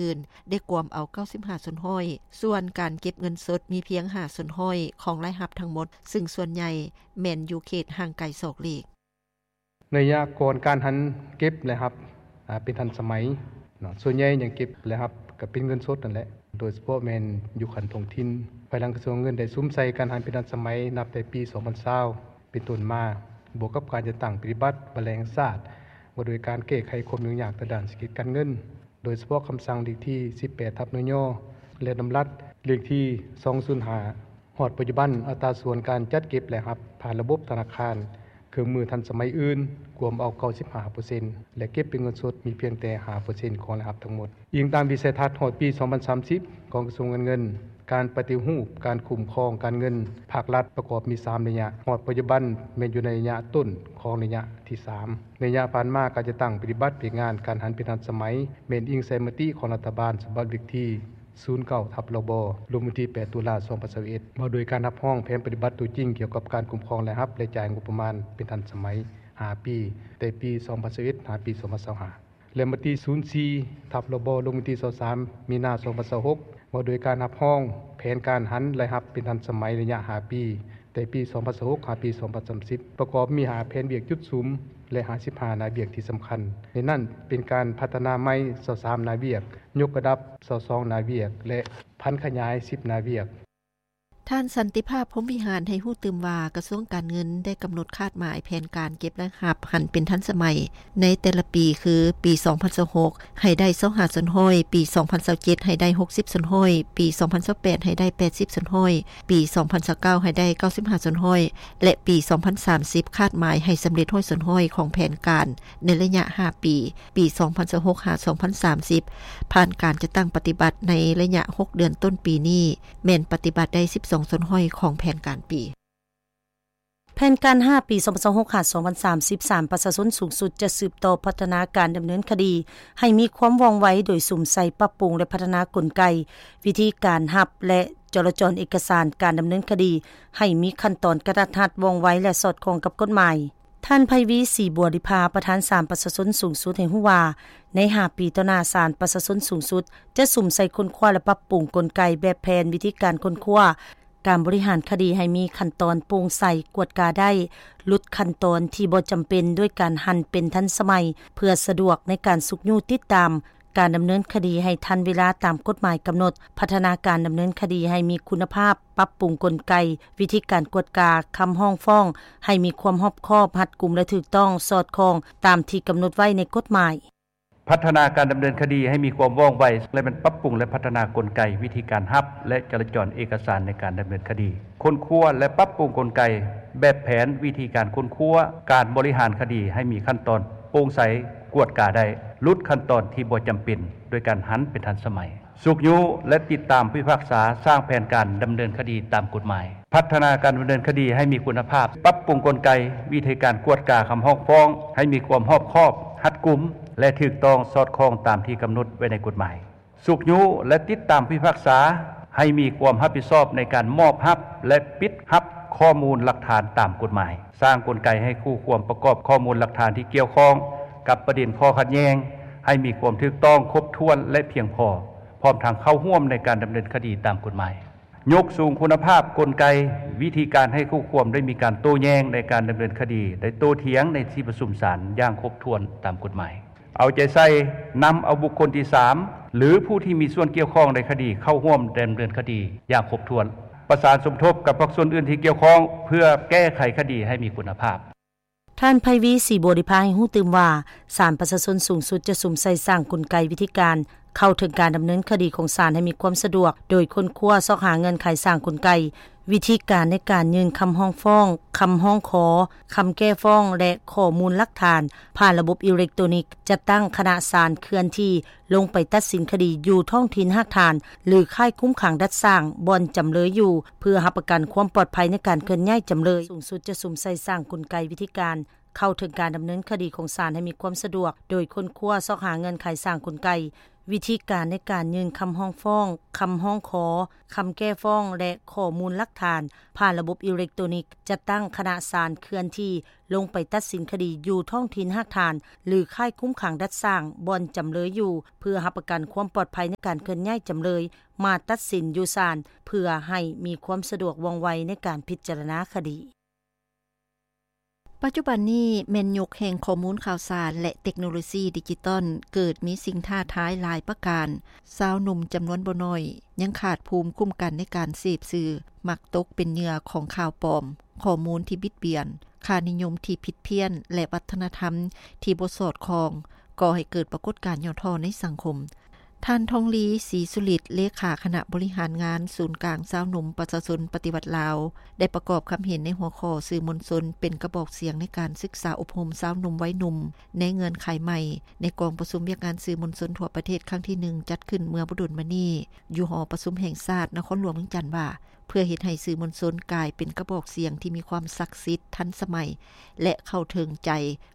ອື່ນ ໄດ້ກວມເອົາ 95% ສ່ວນການເກັບເງິນສົດມີພຽງ 5% ຂອງລາຍຮັບທັງໝົດ, ຊຶ່ງສ່ວນໃຫຍ່ແມ່ນຢູ່ເຂດຫ່າງໄກສອກຫຼີກ. ໃນໄລຍະກ່ອນການຫັນເກັບລາຍຮັບ ອາ ເປັນທັນສະໄໝເນາະ, ສ່ວນໃຫຍ່ຍັງເກັບລາຍຮັບກໍເປັນເງິນສົດນັ້ນແຫຼະ, ໂດຍສະເພາະແມ່ນຢູ່ຂັ້ນທ້ອງຖິ່ນ. ພາຍຫຼັງກະຊວງເງິນໄດ້ສຸມໃສ່ການຫັນເປັນທັນສະໄໝ ນັບແຕ່ປີ ສອງພັນຊາວ ເປັນຕົ້ນມາ, ບວກກັບການຈັດຕັ້ງປະຕິບັດວາລະແຫ່ງຊາດ ວ່າດ້ວຍການແກ້ໄຂຄວາມຫຍຸ້ງຍາກທາງດ້ານເສດຖະກິດການເງິນ, ໂດຍສະເພາະຄຳສັ່ງເລກທີ ສິບແປດ ທັບ ນຍ ແລະ ດຳລັດເລກທີ ສອງສູນຫ້າ ຮອດປັດຈຸບັນ, ອັດຕາສ່ວນການຈັດເກັບລາຍຮັບຜ່ານລະບົບທະນາຄານ, ເຄື່ອງມືທັນສະໄໝອື່ນ ກວມເອົາ 95% ແລະ ເກັບເປັນເງິນສົດມີພຽງແຕ່ 5% ຂອງລາຍຮັບທັງໝົດ. ອີງຕາມວິໄສທັດຮອດປີ ສອງພັນສາມສິບ ຂອງກະຊວງການເງິນ, ການປະຕິຮູບການຄຸ້ມຄອງການເງິນພາກລັດປະກອບມີ ສາມໄລຍະ, ຮອດປັດຈຸບັນແມ່ນຢູ່ໃນໄລຍະຕົ້ນຂອງໄລຍະທີ ສາມ. ໃນໄລຍະຜ່ານມາ, ການຈັດຕັ້ງປະຕິບັດວຽກງານການຫັນເປັນທັນສະໄໝ ແມ່ນອີງໃສ່ມະຕິຂອງລັດຖະບານ ສະບັບເລກທີ ສູນເກົ້າ ທັບ ລບ ລົງວັນທີ ແປດ ຕຸລາ ສອງພັນຊາວເອັດ ວ່າດ້ວຍການຮັບຮອງແຜນປະຕິບັດຕົວຈິງກ່ຽວກັບການຄຸ້ມຄອງລາຍຮັບ ແລະ ຈ່າຍງົບປະມານເປັນທັນສະໄໝ ຫ້າປີ, ແຕ່ປີ ສອງພັນຊາວເອັດ ຫາປີ ສອງພັນຊາວຫ້າ ແລະ ມະຕິ ສູນສີ່ ທັບ ລບ ລົງວັນທີ ຊາວສາມ ມີນາ ສອງພັນຊາວຫົກ ວ່າດ້ວຍການຮັບຮອງແຜນການຫັນລາຍຮັບເປັນທັນສະໄໝໄລຍະ ຫ້າ ປີ, ແຕ່ປີ ສອງພັນຊາວຫົກ ຫາປີ ສອງພັນສາມສິບ ປະກອບມີ ຫ້າ ແຜນວຽກຈຸດສຸມ ແລະ ຫ້າສິບຫ້າ ໜ້າວຽກທີ່ສຳຄັນ. ໃນນັ້ນເປັນການພັດທະນາໃໝ່ ຊາວສາມ ໜ້າວຽກ, ຍົກລະດັບ ຊາວສອງ ໜ້າວຽກ ແລະ ຜັນຂະຫຍາຍ ສິບ ໜ້າວຽກ. ທ່ານ ສັນຕິພາບ ພົມວິຫານ ໃຫ້ຮູ້ຕື່ມວ່າ ກະຊວງການເງິນໄດ້ກຳນົດຄາດໝາຍແຜນການເກັບລາຍຮັບຫັນເປັນທັນສະໄໝໃນແຕ່ລະປີ ຄື ປີ ສອງພັນຊາວຫົກ ໃຫ້ໄດ້ ຊາວຫ້າສ່ວນຮ້ອຍ, ປີ ສອງພັນຊາວເຈັດ ໃຫ້ໄດ້ ຫົກສິບສ່ວນຮ້ອຍ, ປີ ສອງພັນຊາວແປດ ໃຫ້ໄດ້ ແປດສິບສ່ວນຮ້ອຍ, ປີ ສອງພັນຊາວເກົ້າ ໃຫ້ໄດ້ ເກົ້າສິບຫ້າສ່ວນຮ້ອຍ ແລະ ປີ ສອງພັນສາມສິບ ຄາດໝາຍໃຫ້ສຳເລັດ ຮ້ອຍສ່ວນຮ້ອຍ ຂອງແຜນການໃນໄລຍະ ຫ້າ ປີ, ປີ ສອງພັນຊາວຫົກ ຫາ ສອງພັນສາມສິບ ຜ່ານການຈັດຕັ້ງປະຕິບັດໃນໄລຍະ ຫົກ ເດືອນຕົ້ນປີນີ້ ແມ່ນປະຕິບັດໄດ້ ສິບສອງສ່ວນຮ້ອຍ ຂອງແຜນການປີ. ແຜນການ ຫ້າ ປີ ສອງພັນຊາວຫົກ ຫາ ສອງພັນສາມສິບ ສານປະຊາຊົນສູງສຸດຈະສືບຕໍ່ພັດທະນາການດຳເນີນຄະດີໃຫ້ມີຄວາມວ່ອງໄວ ໂດຍສຸມໃສ່ປັບປຸງ ແລະ ພັດທະນາກົນໄກ, ວິທີການຮັບ ແລະ ຈໍລະຈອນເອກະສານການດຳເນີນຄະດີໃຫ້ມີຂັ້ນຕອນກະທັດຮັດ, ວ່ອງໄວ ແລະ ສອດຄ່ອງກັບກົດໝາຍ. ທ່ານ ໄພວີ ສີບົວລິພາ ປະທານສານປະຊາຊົນສູງສຸດ ໃຫ້ຮູ້ວ່າ ໃນ ຫ້າ ປີຕໍ່ໜ້າ, ສານປະຊາຊົນສູງສຸດຈະສຸມໃສ່ຄົ້ນຄວ້າ ແລະ ປັບປຸງກົນໄກ, ແບບແຜນ, ວິທີການຄົ້ນຄວ້າ, ການບໍລິຫານຄະດີໃຫ້ມີຂັ້ນຕອນໂປ່ງໃສ, ກວດກາໄດ້, ຫຼຸດຂັ້ນຕອນທີ່ບໍ່ຈຳເປັນ ດ້ວຍການຫັນເປັນທັນສະໄໝ ເພື່ອສະດວກໃນການຊຸກຍູ້ຕິດຕາມການດຳເນີນຄະດີໃຫ້ທັນເວລາຕາມກົດໝາຍກຳນົດ, ພັດທະນາການດຳເນີນຄະດີໃຫ້ມີຄຸນນະພາບ, ປັບປຸງກົນໄກ, ວິທີການກວດກາຄຳຮ້ອງຟ້ອງໃຫ້ມີຄວາມຮອບຄອບ, ຮັດກຸມ ແລະ ຖືກຕ້ອງ, ສອດຄ່ອງຕາມທີ່ກຳນົດໄວ້ໃນກົດໝາຍ. ພັດທະນາການດຳເນີນຄະດີໃຫ້ມີຄວາມວ່ອງໄວ ແລະ ແມ່ນປັບປຸງ ແລະ ພັດທະນາກົນໄກ, ວິທີການຮັບ ແລະ ຈໍລະຈອນເອກະສານໃນການດຳເນີນຄະດີ, ຄົ້ນຄວ້າ ແລະ ປັບປຸງກົນໄກ, ແບບແຜນ, ວິທີການຄົ້ນຄວ້າ, ການບໍລິຫານຄະດີໃຫ້ມີຂັ້ນຕອນໂປ່ງໃສ, ກວດກາໄດ້, ຫຼຸດຂັ້ນຕອນທີ່ບໍ່ຈຳເປັນ ໂດຍການຫັນເປັນທັນສະໄໝ, ຊຸກຍູ້ ແລະ ຕິດຕາມຜູ້ພິພາກສາ, ສ້າງແຜນການດຳເນີນຄະດີຕາມກົດໝາຍ. ພັດທະນາການດຳເນີນຄະດີໃຫ້ມີຄຸນນະພາບ, ປັບປຸງກົນໄກ, ວິທີການກວດກາຄຳຮ້ອງຟ້ອງໃຫ້ມີຄວາມຮອບຄອບ, ຮັດກຸມ ແລະ ຖືກຕ້ອງ, ສອດຄ່ອງຕາມທີ່ກຳນົດໄວ້ໃນກົດໝາຍ. ຊຸກຍູ້ ແລະ ຕິດຕາມຜູ້ພິພາກສາໃຫ້ມີຄວາມຮັບຜິດຊອບໃນການມອບຮັບ ແລະ ປິດຮັບຂໍ້ມູນຫຼັກຖານຕາມກົດໝາຍ. ສ້າງກົນໄກໃຫ້ຄູ່ຄວມປະກອບຂໍ້ມູນຫຼັກຖານທີ່ກ່ຽວຂ້ອງກັບປະເດັນຂໍ້ຂັດແຍ່ງໃຫ້ມີຄວາມຖືກຕ້ອງ, ຄົບຖ້ວນ ແລະ ພຽງພໍ, ພ້ອມທັງເຂົ້າຮ່ວມໃນການດຳເນີນຄະດີຕາມກົດໝາຍ. ຍົກສູງຄຸນນະພາບກົນໄກ, ວິທີການໃຫ້ຄູ່ຄວາມໄດ້ມີການໂຕ້ແຍ່ງໃນການດຳເນີນຄະດີ ໄດ້ໂຕ້ຖຽງໃນທີ່ປະຊຸມສານຢ່າງຄົບຖ້ວນຕາມກົດໝາຍ. ເອົາໃຈໃສ່ນຳເອົາບຸກຄົນທີສາມ ຫຼື ຜູ້ທີ່ມີສ່ວນກ່ຽວຂ້ອງໃນຄະດີເຂົ້າຮ່ວມດຳເນີນຄະດີຢ່າງຄົບຖ້ວນ. ປະສານສົມທົບກັບພາກສ່ວນອື່ນທີ່ກ່ຽວຂ້ອງ ເພື່ອແກ້ໄຂຄະດີໃຫ້ມີຄຸນນະພາບ. ທ່ານ ໄພວີ ສີບົວລິພາ ໃຫ້ຮູ້ຕື່ມວ່າ ສານປະຊາຊົນສູງສຸດຈະສຸມໃສ່ສ້າງກົນໄກ, ວິທີການເຂົ້າເຖິງການດຳເນີນຄະດີຂອງສານໃຫ້ມີຄວາມສະດວກ, ໂດຍຄົ້ນຄວ້າຊອກຫາເງື່ອນໄຂ, ສ້າງກົນໄກ, ວິທີການໃນການຍື່ນຄຳຮ້ອງຟ້ອງ, ຄຳຮ້ອງຂໍ, ຄຳແກ້ຟ້ອງ ແລະ ຂໍ້ມູນຫຼັກຖານຜ່ານລະບົບອີເລັກໂຕນິກ, ຈັດຕັ້ງຄະນະສານເຄື່ອນທີ່ລົງໄປຕັດສິນຄະດີຢູ່ທ້ອງຖິ່ນຮາກຖານ ຫຼື ຄ້າຍຄຸມຂັງດັດສ້າງ ບ່ອນຈຳເລີຍຢູ່ ເພື່ອຮັບປະກັນຄວາມປອດໄພໃນການເຄື່ອນຍ້າຍຈຳເລີຍ. ສູງສຸດຈະສຸມໃສ່ສ້າງກົນໄກ, ວິທີການເຂົ້າເຖິງການດຳເນີນຄະດີຂອງສານໃຫ້ມີຄວາມສະດວກ, ໂດຍຄົ້ນຄວ້າຊອກຫາເງື່ອນໄຂ, ສ້າງກົນໄກ, ວິທີການໃນການຍື່ນຄຳຮ້ອງຟ້ອງ, ຄຳຮ້ອງຂໍ, ຄຳແກ້ຟ້ອງ ແລະ ຂໍ້ມູນຫຼັກຖານຜ່ານລະບົບອີເລັກໂຕນິກ, ຈັດຕັ້ງຄະນະສານເຄື່ອນທີ່ລົງໄປຕັດສິນຄະດີຢູ່ທ້ອງຖິ່ນຮາກຖານ ຫຼື ຄ້າຍຄຸມຂັງດັດສ້າງບ່ອນຈຳເລີຍຢູ່ ເພື່ອຮັບປະກັນຄວາມປອດໄພໃນການເຄື່ອນຍ້າຍຈຳເລີຍມາຕັດສິນຢູ່ສານ ເພື່ອໃຫ້ມີຄວາມສະດວກວ່ອງໄວໃນການພິຈາລະນາຄະດີ. ປັດຈຸບັນນີ້ແມ່ນຍຸກແຫ່ງຂໍ້ມູນຂ່າວສານ ແລະ ເຕັກໂນໂລຊີດິຈິຕອນ ເກີດມີສິ່ງທ້າທາຍຫຼາຍປະການ. ຊາວໜຸ່ມຈຳນວນບໍ່ໜ້ອຍຍັງຂາດພູມຄຸ້ມກັນໃນການເສບສື່, ມັກຕົກເປັນເຫຍື່ອຂອງຂ່າວປອມ, ຂໍ້ມູນທີ່ບິດບຽນ, ຄ່ານິຍົມທີ່ຜິດພຽນ ແລະ ວັດທະນະທຳທີ່ບໍ່ສອດຄ່ອງ ກໍ່ໃຫ້ເກີດປາກົດການຫຍໍ້ທໍ້ໃນສັງຄົມ. ທ່ານ ທອງລີ ສີສຸລິດ ເລຂາຄະນະບໍລິຫານງານສູນກາງຊາວໜຸ່ມປະຊາຊົນປະຕິວັດລາວ ໄດ້ປະກອບຄຳເຫັນໃນຫົວຂໍ້ ສື່ມວນຊົນເປັນກະບອກສຽງໃນການສຶກສາອົບຮົມຊາວໜຸ່ມໄວໜຸ່ມໃນເງື່ອນໄຂໃໝ່ ໃນກອງປະຊຸມວຽກງານສື່ມວນຊົນທົ່ວປະເທດຄັ້ງທີໜຶ່ງ ຈັດຂຶ້ນເມື່ອບໍ່ດົນມານີ້ ຢູ່ຫໍປະຊຸມແຫ່ງຊາດນະຄອນຫຼວງວຽງຈັນວ່າ ເພື່ອເຮັດໃຫ້ສື່ມວນຊົນກາຍເປັນກະບອກສຽງທີ່ມີຄວາມສັກສິດ, ທັນສະໄໝ ແລະ ເຂົ້າເຖິງໃຈ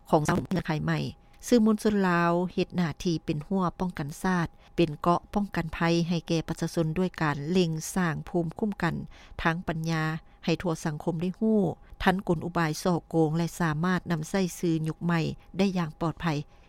ຂອງຊາວໜຸ່ມເງື່ອນໄຂໃໝ່. ສື່ມວນຊົນລາວເຮັດໜ້າທີ່ເປັນຮົ້ວປ້ອງກັນຊາດ, ເປັນເກາະປ້ອງກັນໄພໃຫ້ແກ່ປະຊາຊົນ ດ້ວຍການເລັ່ງສ້າງພູມຄຸ້ມກັນທາງປັນຍາໃຫ້ທົ່ວສັງຄົມໄດ້ຮູ້, ທັນກົນອຸບາຍສໍ້ໂກງ ແລະ ສາມາດນຳໃຊ້ສື່ຍຸກໃໝ່ໄດ້ຢ່າງປອດໄພ.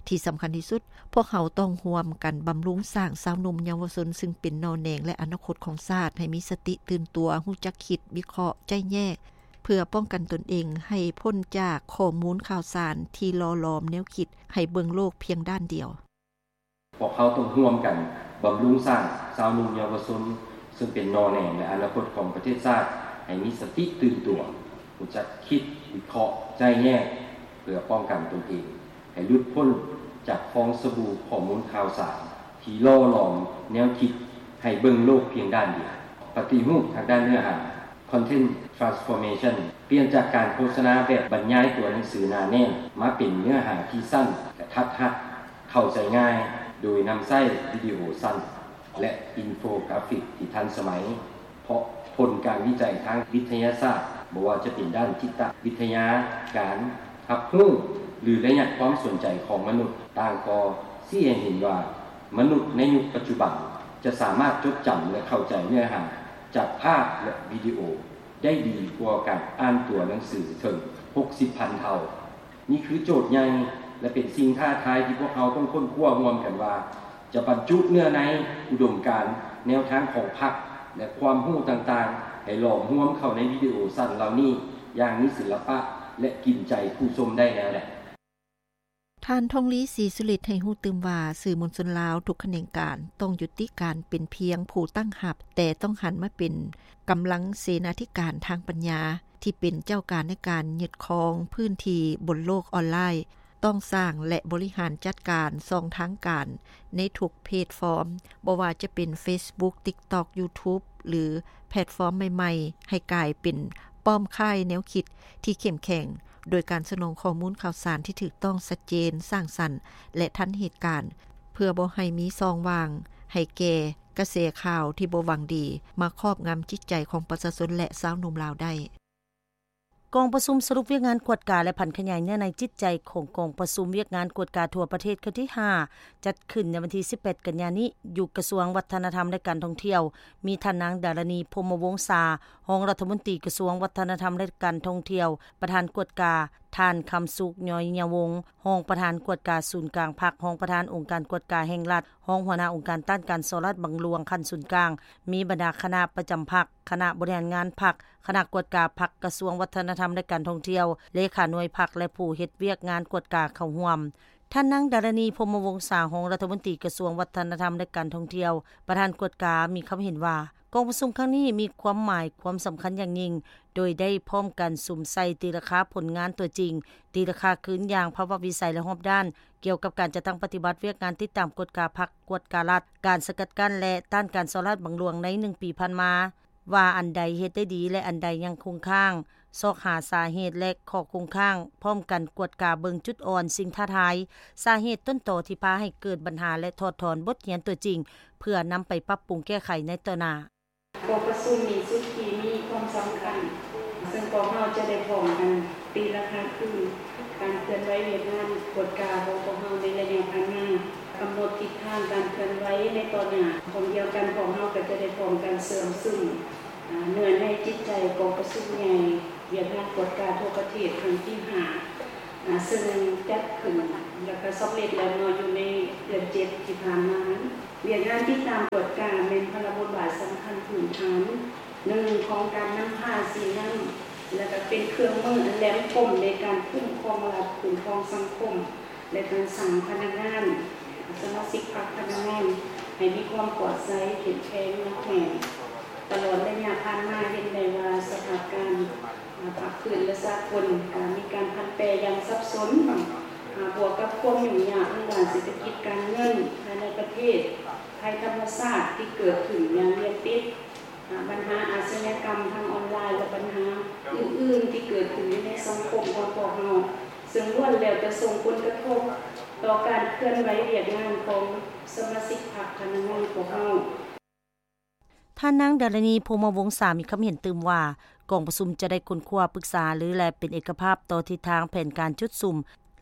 ທີ່ສຳຄັນທີ່ສຸດ, ພວກເຮົາຕ້ອງຮ່ວມກັນບຳລຸງສ້າງຊາວໜຸ່ມເຍົາວະຊົນ ຊຶ່ງເປັນໜໍ່ແໜງ ແລະ ອະນາຄົດຂອງຊາດ ໃຫ້ມີສະຕິຕື່ນຕົວ, ຮູ້ຈັກຄິດ, ວິເຄາະ, ໄຈ້ແຍກ ເພື່ອປ້ອງກັນຕົນເອງໃຫ້ພົ້ນຈາກຂໍ້ມູນຂ່າວສານທີ່ຫຼໍ່ຫຼອມແນວຄິດໃຫ້ເບິ່ງໂລກພຽງດ້ານດຽວ. ພວກເຮົາຕ້ອງຮ່ວມກັນບຳລຸງສ້າງຊາວໜຸ່ມເຍົາວະຊົນ ຊຶ່ງເປັນໜໍ່ແໜງ ແລະ ອະນາຄົດຂອງປະເທດຊາດ ໃຫ້ມີສະຕິຕື່ນຕົວ, ຮູ້ຈັກຄິດ, ວິເຄາະ, ໄຈ້ແຍກ ເພື່ອປ້ອງກັນຕົນເອງ ໃຫ້ຫຼຸດພົ້ນຈາກຟອງສະບູຂໍ້ມູນຂ່າວສານທີ່ຫຼໍ່ຫຼອມແນວຄິດໃຫ້ເບິ່ງໂລກພຽງດ້ານດຽວ. ປະຕິຮູບທາງດ້ານເນື້ອຫາ Content Transformation ປ່ຽນຈາກການໂຄສະນາແບບບັນຍາຍຕົວໜັງສືໜາແໜ້ນ ມາເປັນເນື້ອຫາທີ່ສັ້ນ, ກະທັດຮັດ, ເຂົ້າໃຈງ່າຍ ໂດຍນຳໃຊ້ວິດີໂອສັ້ນ ແລະ ອິນໂຟກຣາຟິກທີ່ທັນສະໄໝ. ເພາະຜົນການວິໄຈທາງວິທະຍາສາດ, ບໍ່ວ່າຈະເປັນດ້ານຈິດຕະວິທະຍາ, ການຮັບຮູ້ ຫຼື ໄລຍະຄວາມສົນໃຈຂອງມະນຸດ, ຕ່າງກໍຊີ້ໃຫ້ເຫັນວ່າ ມະນຸດໃນຍຸກປັດຈຸບັນຈະສາມາດຈົດຈຳ ແລະ ເຂົ້າໃຈເນື້ອຫາຈາກພາບ ແລະ ວິດີໂອໄດ້ດີກວ່າການອ່ານຕົວໜັງສືເຖິງຫົກສິບພັນເທົ່າ. ນີ້ຄືໂຈດໃຫຍ່ ແລະ ເປັນສິ່ງທ້າທາຍທີ່ພວກເຮົາຕ້ອງຄົ້ນຄວ້າຮ່ວມກັນວ່າ ຈະບັນຈຸເນື້ອໃນ, ອຸດົມການ, ແນວທາງຂອງພັກ ແລະ ຄວາມຮູ້ຕ່າງໆ ໃຫ້ຫຼອມຮວມເຂົ້າໃນວິດີໂອສັ້ນເຫຼົ່ານີ້ຢ່າງມີສິລະປະ ແລະ ກິນໃຈຜູ້ຊົມໄດ້ແນວໃດ. ທ່ານ ທອງລີ ສີສຸລິດ ໃຫ້ຮູ້ຕື່ມວ່າ ສື່ມວນຊົນລາວທຸກຂະແໜງການ ຕ້ອງຍຸຕິການເປັນພຽງຜູ້ຕັ້ງຮັບ, ແຕ່ຕ້ອງຫັນມາເປັນກຳລັງເສນາທິການທາງປັນຍາ ທີ່ເປັນເຈົ້າການໃນການຍຶດຄອງພື້ນທີ່ບົນໂລກອອນລາຍ. ຕ້ອງສ້າງ ແລະ ບໍລິຫານຈັດການຊ່ອງທາງການໃນທຸກແພລດຟອມ, ບໍ່ວ່າຈະເປັນ Facebook, TikTok, YouTube ຫຼື ແພລດຟອມໃໝ່ໆ ໃຫ້ກາຍເປັນປ້ອມຄ້າຍແນວຄິດທີ່ເຂັ້ມແຂງ, ໂດຍການສະໜອງຂໍ້ມູນຂ່າວສານທີ່ຖືກຕ້ອງ, ຊັດເຈນ, ສ້າງສັນ ແລະ ທັນເຫດການ, ເພື່ອບໍ່ໃຫ້ມີຊ່ອງວ່າງໃຫ້ແກ່ກະແສຂ່າວທີ່ບໍ່ຫວັງດີມາຄອບງຳຈິດໃຈຂອງປະຊາຊົນ ແລະ ຊາວໜຸ່ມລາວໄດ້. ກອງປະຊຸມສະຫຼຸບວຽກງານກວດກາ ແລະ ຜັນຂະຫຍາຍເນື້ອໃນຈິດໃຈຂອງກອງປະຊຸມວຽກງານກວດກາທົ່ວປະເທດຄັ້ງທີຫ້າ ຈັດຂຶ້ນໃນວັນທີສິບແປດ ກັນຍານີ້ ຢູ່ກະຊວງວັດທະນະທຳ ແລະ ການທ່ອງທ່ຽວ, ມີທ່ານນາງ ດາລະນີ ພົມມະວົງສາ ຮອງລັດຖະມົນຕີກະຊວງວັດທະນະທຳ ແລະ ການທ່ອງທ່ຽວ, ປະທານກວດກາ, ທ່ານ ຄຳສຸກ ຍ້ອຍຍະວົງ ຮອງປະທານກວດກາສູນກາງພັກ, ຮອງປະທານອົງການກວດກາແຫ່ງລັດ, ຮອງຫົວໜ້າອົງການຕ້ານການສໍ້ລາດບັງຫຼວງຂັ້ນສູນກາງ, ມີບັນດາຄະນະປະຈຳພັກ, ຄະນະບໍລິຫານງານພັກ, ຄະນະກວດກາພັກ, ກະຊວງວັດທະນະທຳ ແລະ ການທ່ອງທ່ຽວ, ເລຂາໜ່ວຍພັກ ແລະ ຜູ້ເຮັດວຽກງານກວດກາເຂົ້າຮ່ວມ. ທ່ານນາງ ດາລະນີ ພົມມະວົງສາ ຮອງລັດຖະມົນຕີກະຊວງວັດທະນະທຳ ແລະ ການທ່ອງທ່ຽວ, ປະທານກວດກາ ມີຄຳເຫັນວ່າ ກອງປະຊຸມຄັ້ງນີ້ມີຄວາມໝາຍ, ຄວາມສຳຄັນຢ່າງຍິ່ງ, ໂດຍໄດ້ພ້ອມກັນສຸມໃສ່ຕີລາຄາຜົນງານຕົວຈິງ, ຕີລາຄາຄືນຢ່າງພາວະວິໄສ ແລະ ຮອບດ້ານ ກ່ຽວກັບການຈັດຕັ້ງປະຕິບັດວຽກງານຕິດຕາມກວດກາພັກ, ກວດກາລັດ, ການສະກັດກັ້ນ ແລະ ຕ້ານການສໍ້ລາດບັງຫຼວງໃນໜຶ່ງປີຜ່ານມາ ວ່າອັນໃດເຮັດໄດ້ດີ ແລະ ອັນໃດຍັງຄົງຄ້າງ, ຊອກຫາສາເຫດ ແລະ ຂໍ້ຄົງຄ້າງ, ພ້ອມກັນກວດກາເບິ່ງຈຸດອ່ອນ, ສິ່ງທ້າທາຍ, ສາເຫດຕົ້ນຕໍທີ່ພາໃຫ້ເກີດບັນຫາ ແລະ ຖອດຖອນບົດຮຽນຕົວຈິງ ເພື່ອນຳໄປປັບປຸງແກ້ໄຂໃນຕໍ່ໜ້າ. ກອງປະຊຸມມີຈຸດທີ່ມີຄວາມສຳຄັນ, ເຊິ່ງພວກເຮົາຈະໄດ້ພ້ອມກັນຕີລາຄາຄືນການເຄື່ອນໄຫວວຽກງານກວດກາຂອງພວກເຮົາໃນໄລຍະຜ່ານມາ. ກຳນົດທິດທາງການເຄື່ອນໄຫວໃນຕໍ່ໜ້າ. ພ້ອມດຽວກັນ ພວກເຮົາກໍຈະໄດ້ພ້ອມກັນເຊື່ອມຊຶມ ອາ ເນື້ອໃນຈິດໃຈກອງປະຊຸມໃຫຍ່ວຽກງານກວດກາທົ່ວປະເທດຄັ້ງທີຫ້າ ອາ ເຊິ່ງຈັດຂຶ້ນ ແລ້ວກໍສຳເລັດແລ້ວເນາະ ຢູ່ໃນເດືອນເຈັດທີ່ຜ່ານມາ. ວຽກງານຕິດຕາມກວດກາແມ່ນພາລະບົດບາດສຳຄັນພື້ນຖານໜຶ່ງຂອງການນຳພາຊີ້ນຳ ແລະ ກໍເປັນເຄື່ອງມືອັນແຫຼມຄົມໃນການຄຸ້ມຄອງລັດ, ຄຸ້ມຄອງສັງຄົມ ແລະ ການສ້າງພະນັກງານສະມາຊິກພັກພະນັກງານໃຫ້ມີຄວາມປອດໃສ, ເຂັ້ມແຂງ, ໜັກແໜ້ນ. ຕະຫຼອດໄລຍະຜ່ານມາເຫັນໄດ້ວ່າສະພາບການພາກພື້ນ ແລະ ສາກົນ ການມີການຜັນແປຢ່າງສັບສົນ ບວກກັບຄວາມຫຍຸ້ງຍາກທາງດ້ານເສດຖະກິດການເງິນພາຍໃນປະເທດ, ໄພທຳມະຊາດທີ່ເກີດຂຶ້ນຢ່າງລຽນຕິດ, ບັນຫາອາຊະຍາກຳທາງອອນລາຍ ແລະ ບັນຫາອື່ນໆທີ່ເກີດຂຶ້ນຢູ່ໃນສັງຄົມຂອງພວກເຮົາ ເຊິ່ງລ້ວນແລ້ວແຕ່ສົ່ງຜົນກະທົບຕໍ່ການເຄື່ອນໄຫວວຽກງານຂອງສະມາຊິກພັກພະນັກງານພວກເຮົາ. ທ່ານນາງ ດາລະນີ ພົມມະວົງສາ ມີຄຳເຫັນຕື່ມວ່າ ກອງປະຊຸມຈະໄດ້ຄົ້ນຄວ້າ, ປຶກສາຫາລື ແລະ ເປັນເອກະພາບຕໍ່ທິດທາງແຜນການຈຸດສຸມ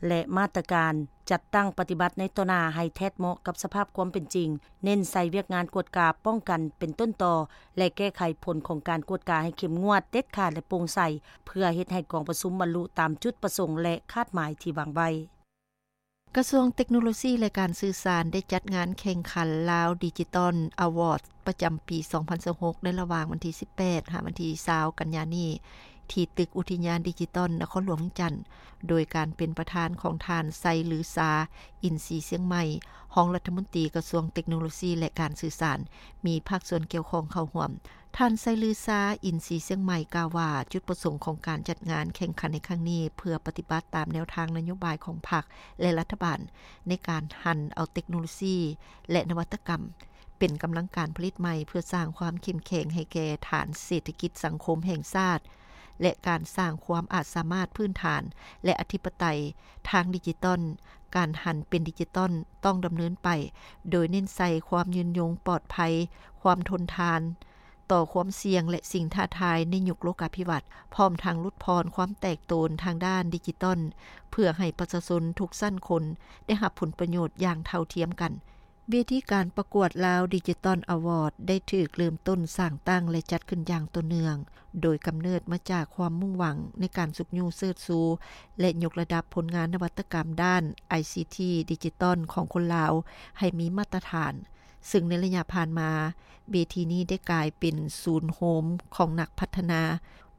ແລະ ມາດຕະການຈັດຕັ້ງປະຕິບັດໃນຕໍ່ໜ້າໃຫ້ແທດເໝາະກັບສະພາບຄວາມເປັນຈິງ, ເນັ້ນໃສ່ວຽກງານກວດກາປ້ອງກັນເປັນຕົ້ນຕໍ ແລະ ແກ້ໄຂຜົນຂອງການກວດກາໃຫ້ເຂັ້ມງວດ, ເດັດຂາດ ແລະ ໂປ່ງໃສ ເພື່ອເຮັດໃຫ້ກອງປະຊຸມບັນລຸຕາມຈຸດປະສົງ ແລະ ຄາດໝາຍທີ່ວາງໄວ້. ກະຊວງເຕັກໂນໂລຊີ ແລະ ການສື່ສານ ໄດ້ຈັດງານແຂ່ງຂັນ Lao Digital Award ປະຈຳປີສອງພັນຊາວຫົກ ໃນລະຫວ່າງວັນທີສິບແປດ ຫາວັນທີຊາວ ກັນຍານີ້ ທີ່ຕຶກອຸທິຍານດິຈິຕອນນະຄອນຫຼວງວຽງຈັນ ໂດຍການເປັນປະທານຂອງທ່ານ ໄຊລືຊາ ອິນສີຊຽງໃໝ່ ຮອງລັດຖະມົນຕີກະຊວງເຕັກໂນໂລຊີ ແລະ ການສື່ສານ, ມີພາກສ່ວນກ່ຽວຂ້ອງເຂົ້າຮ່ວມ. ທ່ານ ໄຊລືຊາ ອິນສີຊຽງໃໝ່ ກ່າວວ່າ ຈຸດປະສົງຂອງການຈັດງານແຂ່ງຂັນໃນຄັ້ງນີ້ ເພື່ອປະຕິບັດຕາມແນວທາງນະໂຍບາຍຂອງພັກ ແລະ ລັດຖະບານ ໃນການຫັນເອົາເຕັກໂນໂລຊີ ແລະ ນະວັດຕະກຳ ເປັນກຳລັງການຜະລິດໃໝ່ ເພື່ອສ້າງຄວາມເຂັ້ມແຂງໃຫ້ແກ່ຖານເສດຖະກິດສັງຄົມແຫ່ງຊາດ ແລະ ການສ້າງຄວາມອາດສາມາດພື້ນຖານ ແລະ ອະທິປະໄຕທາງດິຈິຕອນ. ການຫັນເປັນດິຈິຕອນຕ້ອງດຳເນີນໄປ ໂດຍເນັ້ນໃສ່ຄວາມຍືນຍົງ, ປອດໄພ, ຄວາມທົນທານຕໍ່ຄວາມສ່ຽງ ແລະ ສິ່ງທ້າທາຍໃນຍຸກໂລກາພິວັດ, ພ້ອມທັງຫຼຸດຜ່ອນຄວາມແຕກໂຕນທາງດ້ານດິຈິຕອນ ເພື່ອໃຫ້ປະຊາຊົນທຸກຊັ້ນຄົນໄດ້ຮັບຜົນປະໂຫຍດຢ່າງເທົ່າທຽມກັນ. ເວທີການປະກວດ Lao Digital Award ໄດ້ຖືກເລີ່ມຕົ້ນສ້າງຕັ້ງ ແລະ ຈັດຂຶ້ນຢ່າງຕໍ່ເນື່ອງ, ໂດຍກຳເນີດມາຈາກຄວາມມຸ່ງຫວັງໃນການຊຸກຍູ້ເຊີດຊູ ແລະ ຍົກລະດັບຜົນງານນະວັດຕະກຳດ້ານໄອຊີທີດິຈິຕອນຂອງຄົນລາວໃຫ້ມີມາດຕະຖານ, ເຊິ່ງໃນໄລຍະຜ່ານມາ ເວທີນີ້ໄດ້ກາຍເປັນສູນໂຮມຂອງນັກພັດທະນາ,